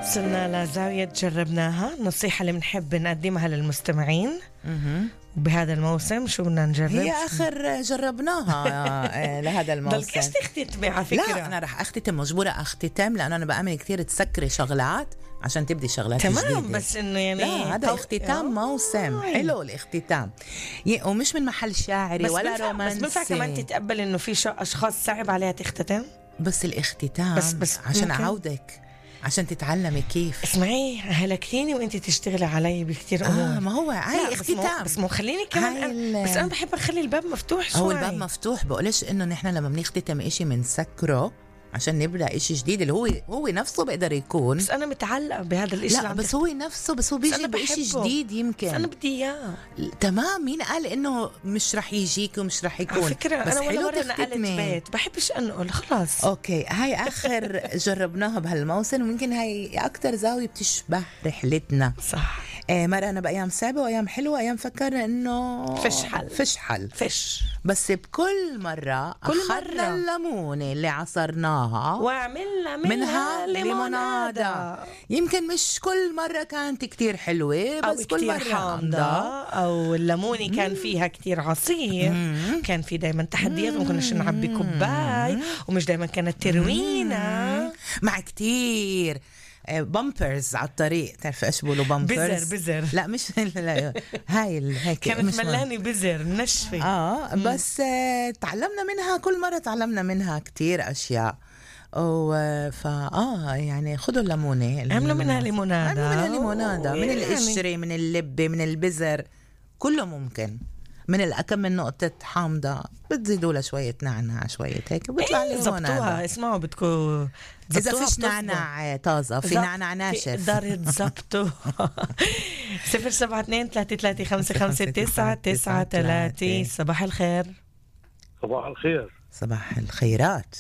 وصلنا لزاوية جربناها، نصيحة اللي بنحب نقدمها للمستمعين. وبهذا الموسم شو بدنا نجرب؟ هي آخر جربناها لهذا الموسم. ضلكيش تختتمي على فكرة. لا أنا رح أختتم، مجبورة أختتم، لأنه أنا بأمن كتير تسكري شغلات عشان تبدي شغلات تمام جديدة. بس إنه يعني لا هذا اختتام موسم حلو الاختتام، ومش من محل شاعري ولا رومانسي. بس بنفع كمان تتقبل إنه في أشخاص صعب عليها تختتم. بس الاختتام بس عشان أعودك، عشان تتعلمي كيف. اسمعي هلكتيني وانت تشتغلي علي بكتير امور. ما هو هاي اختتام. بس مو خليني كمان بس انا بحب اخلي الباب مفتوح شوي. هو الباب مفتوح، بقولش انه نحن لما بنختتم اشي منسكره عشان نبدأ إشي جديد اللي هو نفسه بيقدر يكون. بس أنا متعلقة بهذا الإشي. لا بس هو نفسه، بس هو بيجي بإشي جديد يمكن. بس أنا بدي إياه. تمام، مين قال إنه مش رح يجيك ومش رح يكون؟ على فكرة بس أنا ولا مرة نقلت بيت بحبش أنقل خلاص. أوكي هاي آخر جربناها بهالموسم، وممكن هاي أكتر زاوية بتشبه رحلتنا. صح. مرة أنا بأيام صعبة وأيام حلوة، أيام فكرنا إنه فش حل بس بكل مرة أخذنا الليمونة اللي عصرناها وعملنا منها ليمونادة. يمكن مش كل مرة كانت كتير حلوة، بس كل مرة حامضة، أو الليمونة كان فيها كتير عصير. كان في دايما تحديات، ما كناش نعبي كوباي، ومش دايما كانت تروينا مع كتير بامبرز على الطريق. تعرف ايش بقولوا بامبرز؟ بزر لا مش لا هاي هيك كانت ملاني بزر نشفة. بس تعلمنا منها، كل مرة تعلمنا منها كتير أشياء. يعني خدوا الليمونة، عملوا منها ليمونادة من القشرة، من اللبة، من البزر، كله ممكن. من الأكم من نقطة حامضة بتزيدوا له شوية نعناع شوية هيك بيطلع لي زبطوها. اسمعوا بدكم إذا فيش نعناع طازة، في نعناع ناشف دار تزبطوا. 072-335-5993. صباح الخير. صباح الخير. صباح الخيرات.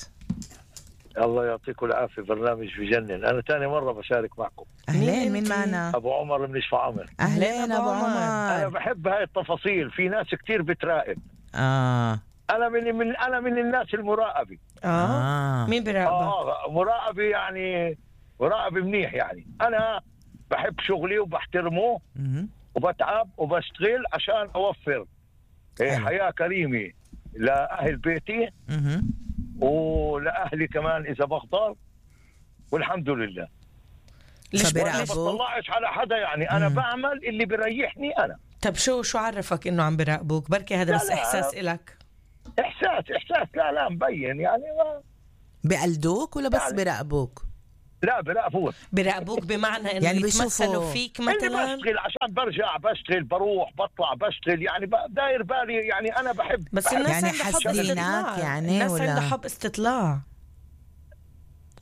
الله يعطيكم العافية، برنامج بجنن. أنا تاني مرة بشارك معكم. أهلين، مين معنا؟ أبو عمر من شفا عمر. أهلين أبو عمر. أنا بحب هاي التفاصيل، في ناس كتير بتراقب. أنا من الناس المراقبة. مين براقبك؟ مراقبة يعني مراقبة منيح يعني. أنا بحب شغلي وبحترمه وبتعب وبشتغل عشان أوفر حياة كريمة لأهل بيتي ولأهلي كمان إذا بقدر، والحمد لله. ليش ما بطلعش على حدا يعني. أنا بعمل اللي بريحني أنا. طب شو عرفك إنه عم براقبوك؟ بركي هذا بس إحساس إلك. إحساس لا مبين يعني. بقلدوك ولا بس براقبوك؟ لا براقبوك بمعنى إنه يعني يتمثلوا فيك مثلا. بشتغل عشان برجع بشتغل، بروح بطلع بشتغل يعني، داير بالي يعني. أنا بحب بس الناس يعني حاسدينك يعني، الناس عندها حب استطلاع.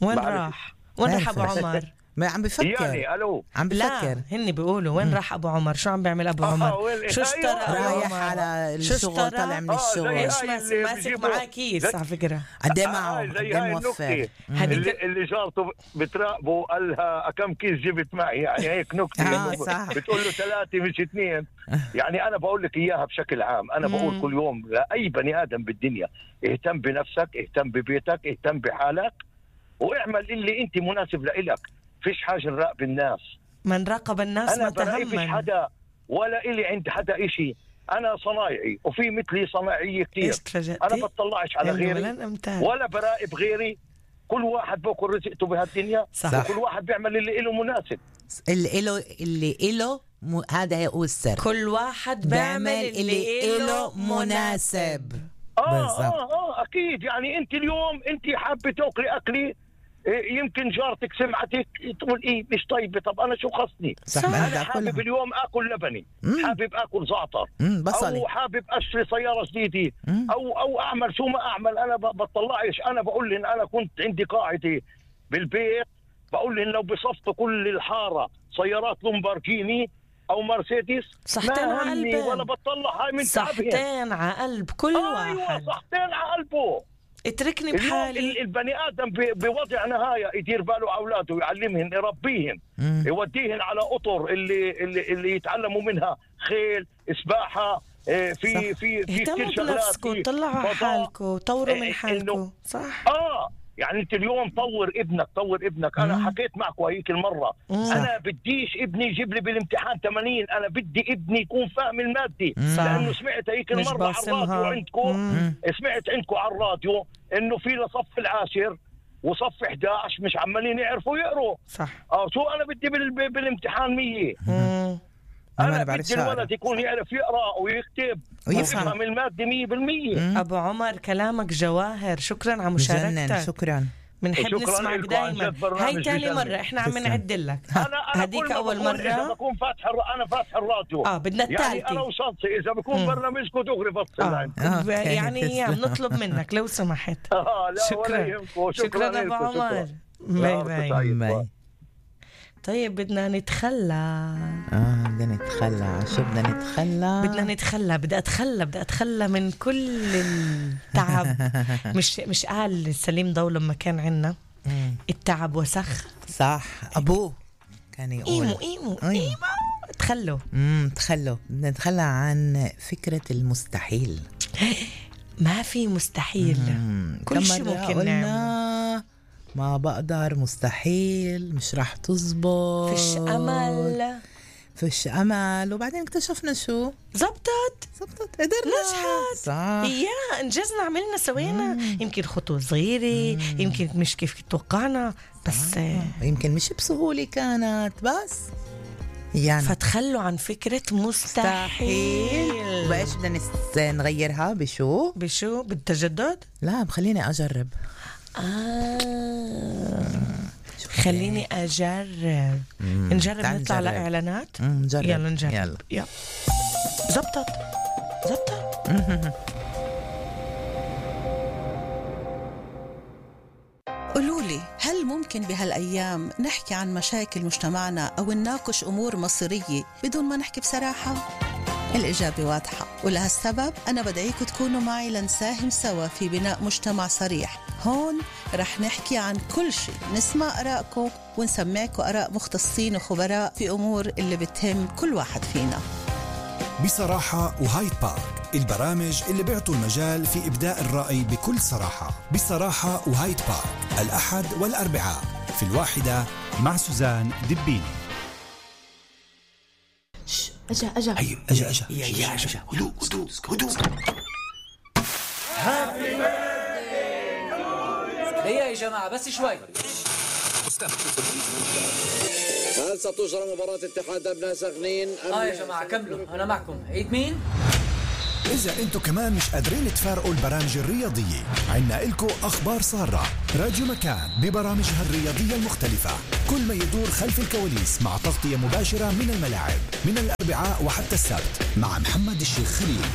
وين راح أبو عمر؟ ما عم بفكر يعني. ألو عم بفكر. لا هني بيقولوا وين راح أبو عمر؟ شو عم بيعمل أبو عمر؟ شو اشترى؟ رايح على الشغل، طالع من الشغل. ايش ماسك معاه كيس على فكرة؟ قديه معه؟ قديه موفر؟ اللي جارته بتراقبه قالها كم كيس جبت معي يعني. هيك نكتة. بتقول له 3 مش 2. يعني أنا بقول لك إياها بشكل عام. أنا بقول كل يوم لأي بني آدم بالدنيا: اهتم بنفسك، اهتم ببيتك، اهتم بحالك، واعمل اللي أنت مناسب لإلك. فيش حاجة نراقب الناس. من راقب الناس ما تهمن. أنا فيش حدا ولا إلي عند حدا إشي. أنا صنايعي وفي مثلي صناعية كتير. أنا بطلعش على غيري ولا براقب غيري. كل واحد بأكل رزقته بهالدنيا. وكل واحد بيعمل اللي إله مناسب. اللي إله هذا هو السر. كل واحد بيعمل اللي إله مناسب. أكيد يعني. أنت اليوم أنت حابة تأكلي أكلي، يمكن جارتك سمعتك تقول إيه مش طيبة. طب أنا شو خصني؟ أنا حابب اليوم أكل لبني، حابب أكل زعتر، أو حابب أشتري سيارة جديدة، أو أعمل شو ما أعمل. أنا بطلعش. أنا بقول لهم أنا كنت عندي قاعدة بالبيت، بقول لهم لو بصفتوا كل الحارة سيارات لومبارجيني أو مرسيدس صحتين على قلبه، ولا بطلع هاي من صحتين على قلب كل واحد. أيوة صحتين على قلبه. اتركني بحالي. البني آدم بوضع نهاية يدير باله أولاده، يعلمهم، يربيهم، يوديهم على أطر اللي يتعلموا منها خيل، سباحة، في كل شغلات. اهتموا بنفسكم، طلعوا على حالكم، طوروا من حالكم. صح. يعني انت اليوم طور ابنك. انا حكيت معكم هيك المره، انا بديش ابني يجيب لي بالامتحان 80، انا بدي ابني يكون فاهم المادي. لانه سمعت هيك المره على الراديو عندكم، سمعت عندكم على الراديو انه في لصف العاشر وصف 11 مش عمالين يعرفوا يقروا. صح. شو انا بدي بالامتحان 100. أنا بدي الولد يكون يعرف يقرأ ويكتب ويفهم المادة 100%. أبو عمر كلامك جواهر، شكرا على مشاركتك. شكرا. بنحب نسمعك دايما. هاي تاني مرة احنا عم نعدل لك. هديك أول مرة إذا بكون أنا فاتح الراديو بدنا التالتة يعني أنا وصلت إذا بكون برنامجكم دغري فصل يعني بنطلب منك لو سمحت. شكرا أبو عمر. باي. طيب بدنا نتخلى. شو بدنا نتخلى؟ بدي أتخلى من كل التعب. مش قال سليم ضو لما كان عنا التعب وسخ. صح. أبوه كان يقول إيمو تخلوا. بدنا نتخلى عن فكرة المستحيل. ما في مستحيل. كل شيء ممكن نعمل. ما بقدر، مستحيل، مش رح تزبط، فيش أمل. وبعدين اكتشفنا شو زبطت قدرنا، نجحت. انجزنا، عملنا، سوينا. يمكن خطوة صغيرة، يمكن مش كيف توقعنا، بس يمكن مش بسهولة كانت، بس يعني فتخلوا عن فكرة مستحيل. بايش بدنا نغيرها؟ بشو بالتجدد؟ لا، بخليني أجرب. خليني أجرب. نجرب. نطلع لإعلانات. يلا نجرب. يلا. زبطت. قولولي، هل ممكن بهالأيام نحكي عن مشاكل مجتمعنا أو نناقش أمور مصيرية بدون ما نحكي بصراحة؟ الإجابة واضحة، ولهالسبب أنا بدعيكم تكونوا معي لنساهم سوا في بناء مجتمع صريح. هون رح نحكي عن كل شيء، نسمع آراءكم ونسمعكم آراء مختصين وخبراء في أمور اللي بتهم كل واحد فينا. بصراحة وهايد بارك، البرامج اللي بيعطوا المجال في إبداء الرأي بكل صراحة. بصراحة وهايد بارك، الأحد والأربعاء في 1 مع سوزان دبيني. أجا هدوء. هيا يا جماعة بس شوي. هل ستجرى مباراة اتحاد أبناء سخنين؟ يا جماعة كملوا، أنا معكم. عيد مين؟ إذا أنتو كمان مش قادرين تفارقوا البرامج الرياضية، عنا إلكو أخبار سارة. راديو مكان ببرامجها الرياضية المختلفة، كل ما يدور خلف الكواليس، مع تغطية مباشرة من الملاعب، من الأربعاء وحتى السبت، مع محمد الشيخ خليل.